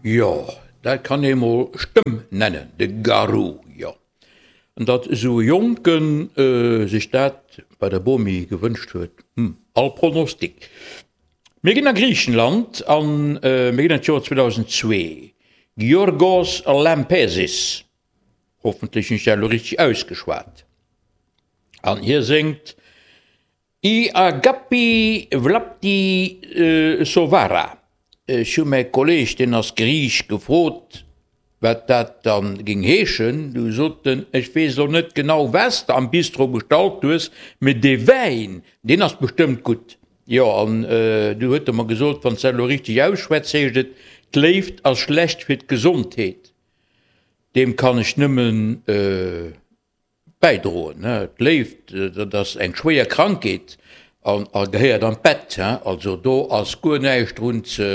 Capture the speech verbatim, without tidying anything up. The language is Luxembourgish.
Jo, dat kann ee mol Stëmm nennen, de Garou, jo. An datt esou e Jonken sech dat bei der Bomi gewënscht huet, hm, all Pronostic. Mir ginn a Griichenland an mir ginn an d'Joer zweedausendzwee. Giorgos Lampesis, hoffentlech hunn ech dat elo richteg ausgeschwat, an hie séngt I Agapi Vlapti Sovara. Ech hu mäi Kolleeg, deen ass Griich, gefrot, wat dat dann géing heeschen. Du sot en, ech weess elo net genau, wat s de am Bistro bestallt hues, mee dee Wäin, deen ass bestëmmt gutt. Jo, an du huet e mer gesot, wann s dat elo richteg ausschwätz, heescht et, d'Léift ass schlecht fir d'Gesondheet. Deem kann ech nëmmen bäidroen. D'Léift, dat ass eng schwéier Krankheet an a gehéiert an d'Bett. Also do ass guer näischt drun ze.